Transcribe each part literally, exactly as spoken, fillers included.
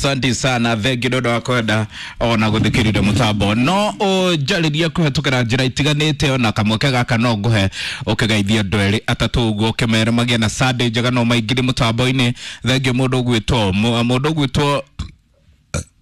Asante sana, thengi nĩ ũndũ wa kwenda ona gũthikĩrĩria mũtambo. No ũnjarĩrie kũhetũkĩra njĩra itiganĩte, ona kamweke gaka no ngũhe ũkĩgeithia andũ erĩ atatũ ũguo, ũkĩmere magĩe na Sunday njega no maingĩre mũtambo-inĩ. Thengi mũndũ ũgwĩtwo mũndũ ũgwĩtwo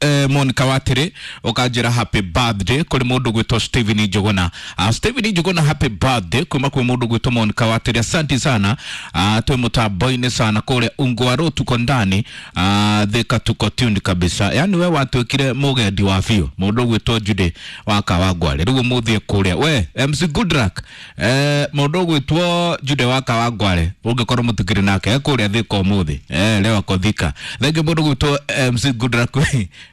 eh, Monica Watiri ukanjira happy birthday kuri mundu gwitwo Steven Njuguna. uh, Steven Njuguna, happy birthday kuma kwi mundu gwitwo Monica Watiri, asante sana. uh, twi mutambo-ini sana kuria Ungwaro, tuko ndani, uh, Thika tuko tuned kabisa. Yani we watuikire mugendi wa biũ, mundu gwitwo Jude wa Kawangware. Riu muthie kuria we M C Goodluck, eh, mundu gwitwo Jude wa Kawangware ungikorwo mutikiri nake kuria Thika umuthi, eh, leo ako Thika. Thengi mundu gwitwo M C Goodluck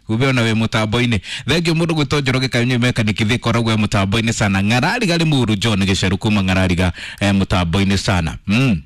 kumbe ona wĩ mũtambo-inĩ. Thengi mũndũ gwĩtwo Njoroge Kanyuĩ mechanic Thika, ũrauga wĩ mũtambo-inĩ sana. Ng'arariga Limuru John Gĩceru kuma Ng'arariga, eh, mũtambo-inĩ sana. mm.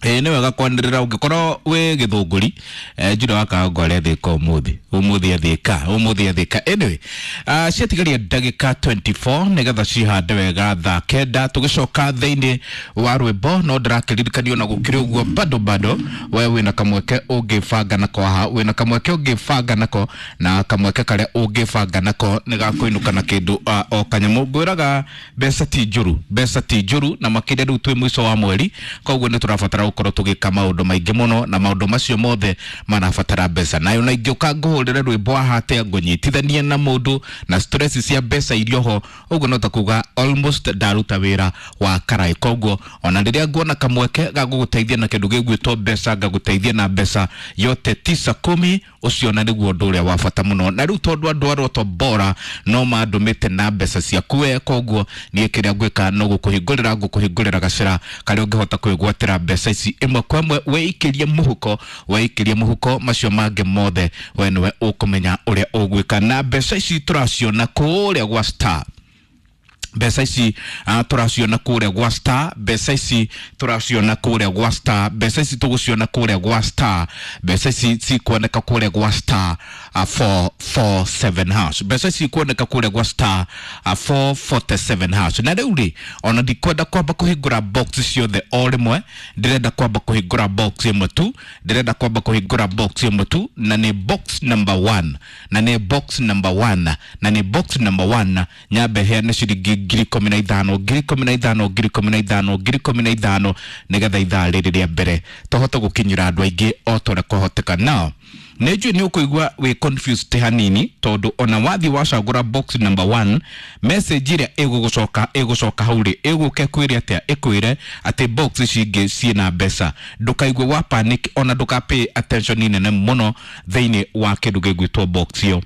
Ĩĩ nĩ wega kwanĩrĩra ũngĩkorwo wĩ Gĩthũngũri, eh, Juda wa Kawangware Thika ũmũthĩ, ũmũthĩ Thika, ũmũthĩ Thika. Anyway, uh, ciatigaria ndagĩka mĩrongo ĩĩrĩ na inya nĩgetha cihande wega thaa kenda, tũgĩcoka thĩinĩ wa rwĩmbo. No ndĩrakĩririkanio na gũkĩrĩ ũguo, bado bado we wĩna kamweke ũngĩbanga nako haha, wĩna kamweke ũngĩbanga nako, na kamweke karĩa ũngĩbanga nako nĩ gakũinũka na kĩndũ uh, o kanyamũ. Ngwĩraga mbeca ti njũru, mbeca ti njũru, na makĩria rĩu twĩ mũico wa mweri, koguo nĩ tũrabatara gũkorwo tũgĩka maũndũ maingĩ mũno, na maũndũ macio mothe marabatara mbeca. Nayo na ingĩũka ngũhũrĩre rwĩmbo haha atĩa ngũnyitithanie na mũndũ na stress cia mbeca irio ho ũguo, no ta kuga almost ndaruta wĩra wa karai. Koguo ona rĩrĩa nguona kamweke ga gũgũteithia na kĩndũ gĩgwĩtwo mbeca, ngagũteithia na mbeca, yote tisa kumi, ũcio na nĩguo ũndũ ũrĩa wa bata mũno. Na rĩu tondũ andũ a Roto Bora no mandũmĩte na mbeca ciaku we, koguo niĩ kĩrĩa ngwĩka no gũkũhingũrĩra ngũkũhingũrĩra gacĩra karĩa ũngĩhota kwĩgwatĩra mbeca ici ĩmwe kwa ĩmwe, wĩikĩrie mũhuko, wĩikĩrie mũhuko, macio mangĩ mothe we nĩwe ũkũmenya ũrĩa ũgwĩka. Na mbeca ici tũraciona kũrĩa gwa star, mbeca ici uh, tũraciona kũrĩa gwa star, mbeca ici tũraciona kũrĩa gwa star, mbeca ici tũgũciona kũrĩa gwa star, mbeca ici cikuoneka kũrĩa gwa star uh, four four seven hash, mbeca ici ikuoneka kũrĩa gwa star uh, four forty-seven hash. Na rĩu rĩ, ona ndikwenda kwamba kũhingũra box ciothe o rĩmwe, ndĩrenda kwamba kũhingũra box ĩmwe tu, ndĩrenda kwamba kũhingũra box ĩmwe tu, na nĩ box number one, na nĩ box number one, na nĩ box number one. Nyambe heane ciringi ngiri ikũmi na ithano, ngiri ikũmi na ithano, ngiri ikũmi na ithano, ngiri ikũmi na ithano, nĩgetha ithaa rĩrĩ rĩa mbere tũhote gũkinyĩra andũ aingĩ o ta ũrĩa kwahoteka. Nao nĩ njũĩ nĩ ũkũigua wĩ confused hanini, tondũ ona wathiĩ wacagũra box number one, message ĩrĩa ĩgũgũcoka ĩgũcoka hau rĩ, ĩgũke kwĩre atĩa? Ĩkwĩre atĩ box ici ingĩ ciĩna mbeca. Ndũkaigue wa panic, ona ndũka pay attention nene mũno thĩinĩ wa kĩndũ gĩgwĩtwo box ĩyo.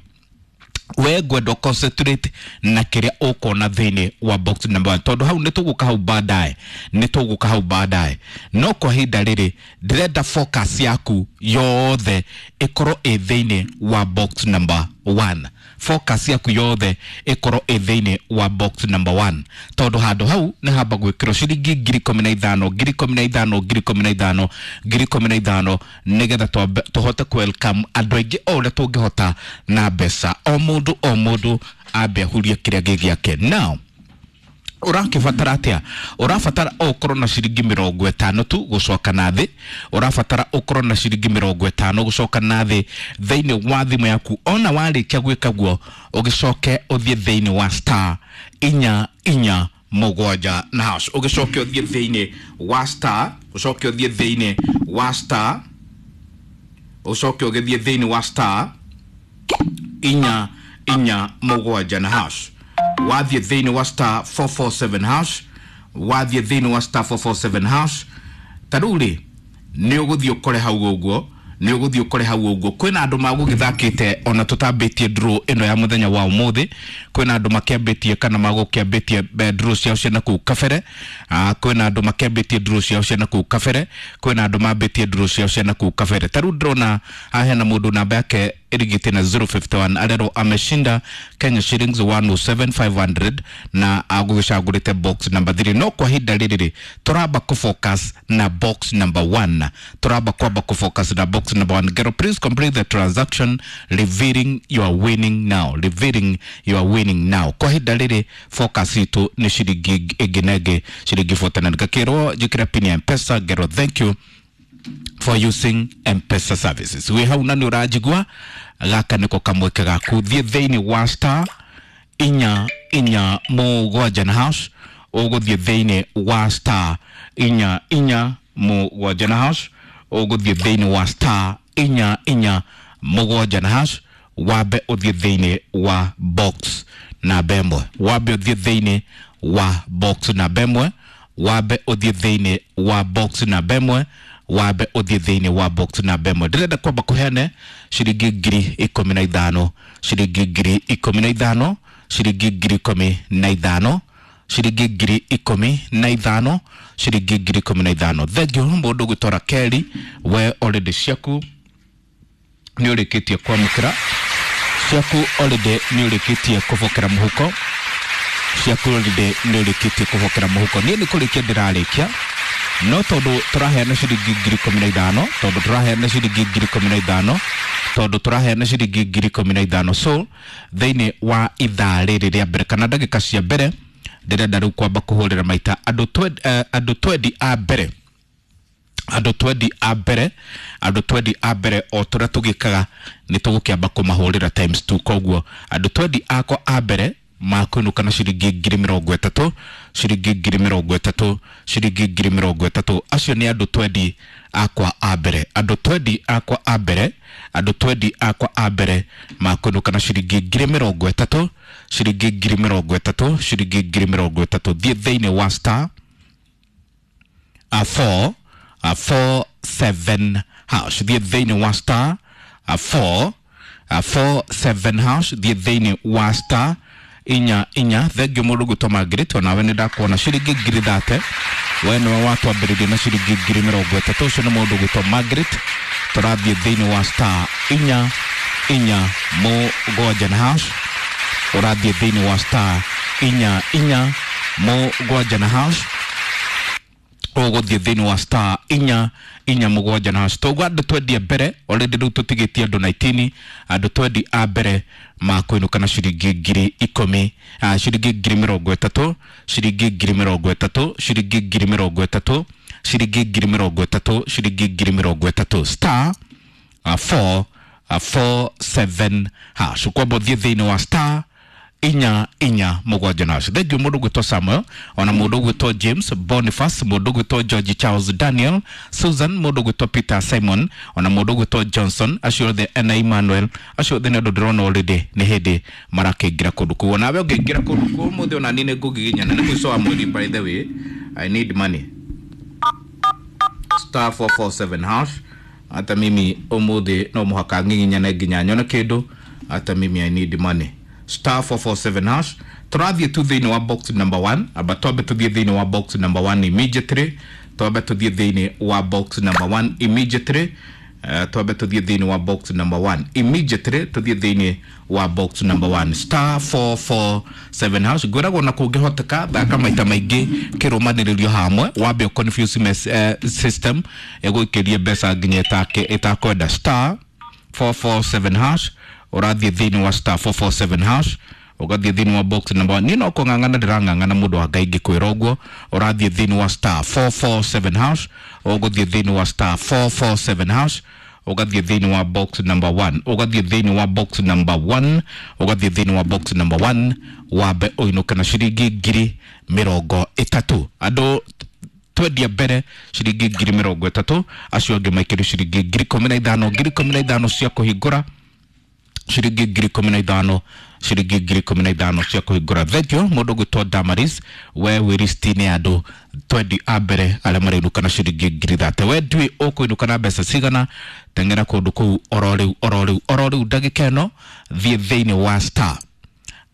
We ngwenda concentrate na kĩrĩa ũkuona thĩinĩ wa box number one, tondũ hau nĩ tũgũka hau baadaye, nĩ tũgũka hau baadaye. No kwa ihinda rĩrĩ ndĩrenda focus yaku yothe ĩkorwo ĩ thĩinĩ wa box number one, focus yaku yothe ĩkorwo ĩ thĩinĩ wa box number one, tondũ handũ hau nĩ hamba gwĩkĩrwo ciringi ngiri ikũmi na ithano, ngiri ikũmi na ithano, ngiri ikũmi na ithano, ngiri ikũmi na ithano, nĩgetha twambe- tũhote ku welcome andũ aingĩ o ũrĩa tũngĩhota na mbeca. O mũndũ o mũndũ ambe ahurie kĩrĩa gĩ gĩake. Now ũrakĩbatara atĩa? Ũrabatara o ũkorwo na ciringi mĩrongo ĩtano tu gũcoka na thĩ, ũrabatara ũkorwo na ciringi mĩrongo ĩtano gũcoka na thĩ thĩinĩ wa thimũ yaku. Ona warĩkia gwĩka guo, ũgĩcoke ũthiĩ thĩinĩ wa star inya inya mũgwanja na hash, ũgĩcoke ũthiĩ thĩinĩ wa star, ũcoke ũthiĩ thĩinĩ wa star, ũcoke ũgĩthiĩ thĩinĩ wa star inya inya mũgwanja na hash. Wathiĩ thĩinĩ wa star four four seven hash, wathiĩ thĩinĩ wa star four four seven hash, ta rĩu rĩ nĩ ũgũthiĩ ũkore hau ũguo, nĩ ũgũthiĩ ũkore hau ũguo kwĩna andũ magũgĩthakĩte ona tũtambĩtie draw ĩno ya mũthenya wa ũmũthĩ. Kwĩna andũ makĩambĩtie kana magũkĩambĩtie eh, draw ciao cia nakũu kabere. Ah, kwĩna andũ makĩambĩtie draw ciao cia nakũu kabere, kwĩna andũ mambĩtie draw ciao cia nakũu kabere. Ta rĩu ndĩrona haha hena mũndũ namba yake ĩrigĩte na zero five one, arerwo ameshinda Kenya shillings one oh seven five hundred na agũgĩcagũrĩte box number three. No kwa ihinda rĩrĩ rĩ, tũramba kũfocus na box number one, tũramba kwamba kũfocus na box number one. Gero, please complete the transaction revealing your winning now, revealing your winning now. Kwa ihinda rĩrĩ focus itũ nĩ ciringi ĩngĩ na ĩngĩ, ciringi mĩrongo ĩnana. Ngakĩrwo njĩkĩre pin ya Mpesa. Gero, thank you. for using M-Pesa services. Wi hau na nĩ ũranjigua, gaka nĩko kamweke gaku. Thiĩ thĩinĩ wa star inya inya mũgwanja na hash, ũgũthiĩ thĩinĩ wa star inya inya mũgwanja na hash, ũgũthiĩ thĩinĩ wa star inya inya mũgwanja na hash, wambe ũthiĩ thĩinĩ wa box namba ĩmwe, wambe ũthiĩ thĩinĩ wa box namba ĩmwe, wambe ũthiĩ thĩinĩ wa box namba ĩmwe, wambe ũthiĩ thĩinĩ wa box namba ĩmwe. Ndĩrenda kwamba kũheane ciringi ngiri ikũmi na ithano, ciringi ngiri ikũmi na ithano, ciringi ngiri ikũmi na ithano, ciringi ngiri ikũmi na ithano, ciringi ngiri ikũmi na ithano. Thengiũ mũndũ ũgwĩtwo Rakeli, we already ciaku nĩ ũrĩkĩtie kwamũkĩra, ciaku already nĩ ũrĩkĩtie kũbokera mũhuko, ciaku already nĩ ũrĩkĩtie kũbokera mũhuko. Niĩ nĩ kũrĩkia ndĩrarĩkia, no tondũ tũraheana ciringi ngiri ikũmi na ithano, tondũ tũraheana ciringi ngiri ikũmi na ithano, tondũ tũraheana ciringi ngiri ikũmi na ithano. So thĩinĩ wa ithaa rĩrĩ rĩa mbere kana ndagĩka cia mbere, ndĩrenda rĩu kwamba kũhũrĩra maita andũ twendi, eh, andũ twendi a mbere, andũ twendi a mbere, andũ twendi a mbere o tũrĩa tũgĩkaga nĩ tũgũkĩamba kũmahũrĩra times two. Koguo andũ twendi akwa a mbere makũinũka na ciringi ngiri mĩrongo ĩtatũ, ciringi ngiri mĩrongo ĩtatũ, ciringi ngiri mĩrongo ĩtatũ. Acio nĩ andũ twendi akwa a mbere, andũ twendi akwa a mbere, andũ twendi akwa a mbere makũinũka na ciringi ngiri mĩrongo ĩtatũ, ciringi ngiri mĩrongo ĩtatũ, ciringi ngiri mĩrongo ĩtatũ. Thiĩ thĩinĩ wa star a four a four seven hash, thiĩ thĩinĩ wa star a four a four seven hash, thiĩ thĩinĩ wa star inya inya. Thengiũ mũndũ gwĩtwo Margaret, onawe nĩ ndakuona ciringi ngiri thate, we nĩwe watwambĩrĩria na ciringi ngiri mĩrongo ĩtatũ. Ũcio nĩ mũndũ gwĩtwo Margaret. Tũrathiĩ thĩinĩ wa star inya inya mũgwanja na hash, ũrathiĩ thĩinĩ wa star inya inya mũgwanja na hash, ũgũthiĩ thĩinĩ wa star inya inya mũgwanja na hash. Toguo andũ twendi a mbere already rĩu tũtigĩtie andũ nineteen, andũ twendi a mbere makũinũka na ciringi ngiri ikũmi, ah, ciringi ngiri mĩrongo ĩtatũ, ciringi ngiri mĩrongo ĩtatũ, ciringi ngiri mĩrongo ĩtatũ, ciringi ngiri mĩrongo ĩtatũ, ciringi ngiri mĩrongo ĩtatũ. Star uh, four uh, four seven hash, ũkwamba ũthiĩ thĩinĩ wa star inya inya mũgwanja na hash. Thengiũ mũndũ ũgwĩtwo Samuel, ona mũndũ ũgwĩtwo James Boniface, mũndũ ũgwĩtwo George Charles Daniel Susan, mũndũ ũgwĩtwo Peter Simon, ona mũndũ ũgwĩtwo Johnson, acio othe na Emmanuel, acio othe nĩ andũ ndĩrona already nĩ hĩndĩ marakĩingĩra kũndũ kũu. Onawe ũngĩingĩra kũndũ kũu ũmũthĩ, ona niĩ nĩ ngũgiginyana nĩ mũico wa mweri. By the way, I need money. Star four four seven hash. Hata mimi ũmũthĩ no mũhaka ngiginyane nginya nyone kĩndũ. Hata mimi I need money. Star four four seven hash. Tũrathiĩ tu thĩinĩ wa box number one. Amba twambe tũthiĩ thĩinĩ wa box number one immediately. Twambe tũthiĩ thĩinĩ wa box number one immediately. Uh, twambe tũthiĩ thĩinĩ wa box number one immediately. Tũthiĩ thĩinĩ wa box number one. Star four four seven hash. Ngwĩragwo na kũngĩhoteka thaka maita maingĩ kĩrũmanĩrĩrio hamwe, wambe confuse mes, uh, system ĩgũikĩrie mbeca nginya ĩtakwenda. Star four four seven hash. Ũrathiĩ thĩinĩ wa star four four seven hash, ũgathiĩ thĩinĩ wa box number one. Niĩ no kũng'ang'ana ndĩrang'ang'ana mũndũ wa Ngai ngĩkwĩra ũguo. Ũrathiĩ thĩinĩ wa star four four seven hash, ũgũthiĩ thĩinĩ wa star four four seven hash, ũgathiĩ thĩinĩ wa box number one, ũgathiĩ thĩinĩ wa box number one, ũgathiĩ thĩinĩ wa box number one, wambe ũinũke na ciringi ngiri mĩrongo ĩtatũ. Andũ twendia mbere ciringi ngiri mĩrongo ĩtatũ, acio angĩ maikĩrio ciringi ngiri ikũmi na ithano, ngiri ikũmi na ithano cia kũhingũra, ciringi ngiri ikũmi na ithano, ciringi ngiri ikũmi na ithano cia kũhingũra. Thengiũ mũndũ ũgwĩtwo Damaris, we wĩ listi-inĩ ya andũ twendi a mbere arĩa marĩinũka na ciringi ngiri thate. We ndũĩ ũkũinũka na mbeca cigana, teng'era kũndũ kũu oro rĩu, oro rĩu, oro rĩu ndagĩka ĩno. Thiĩ thĩinĩ wa star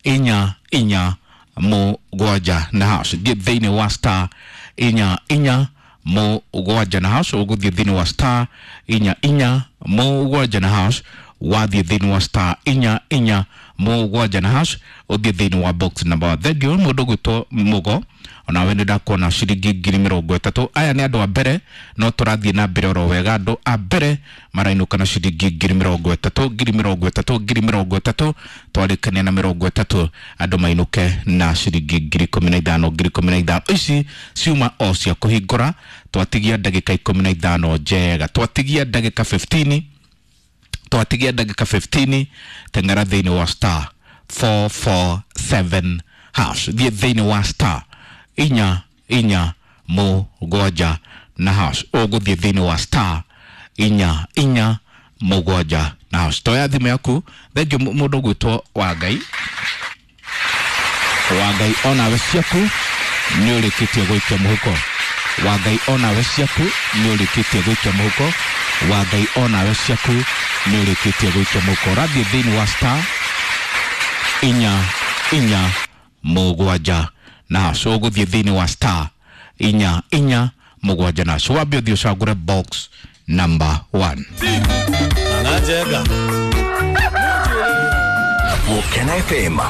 inya inya mũgwanja na hash. Thiĩ thĩinĩ wa star inya inya mũgwanja na hash, ũgũthiĩ thĩinĩ wa star inya inya mũgwanja na hash, wathiĩ thĩinĩ wa star inya inya mũgwanja na hash, ũthiĩ thĩinĩ wa box number one. Thengiũ mũndũ ũgwĩtwo Mũgo, Onawe nĩ ndakuona ciringi ngiri mĩrongo ĩtatũ. Aya nĩ andũ a mbere, no tũrathiĩ na mbere oro wega. Andũ a mbere marainũka na ciringi ngiri mĩrongo ĩtatũ, ngiri mĩrongo ĩtatũ, ngiri mĩrongo ĩtatũ. Twarĩkania na mĩrongo ĩtatũ, andũ mainũke na ciringi ngiri ikũmi na ithano, ngiri ikũmi na ithano. Ici ciuma o cia kũhingũra. Twatigia ndagĩka ikũmi na ithano njega, twatigia ndagĩka fifteen, twatigia ndagĩka fifteen. Teng'era thĩinĩ wa star four four seven hash, thiĩ thĩinĩ wa star inya inya mũgwanja na hash. Ũgũthiĩ thĩinĩ wa star inya inya mũgwanja na hash. Toya thimũ yaku. Thengiũ mũndũ ũgwĩtwo Wangai. Wangai, onawe ciaku nĩ ũrĩkĩtie gũikia mũhuko. Wangai, onawe ciaku nĩ ũrĩkĩtie gũikia mũhuko. Wangai, onawe ciaku nĩ ũrĩkĩtie gũikia mũhuko. Ũrathiĩ thĩinĩ wa star inya inya mũgwanja na hash. Ũgũthiĩ thĩinĩ wa star inya inya mũgwanja na hash, wambe ũthiĩ ũcagũre box number one. Ng'ang'a Njega. Gukena F M.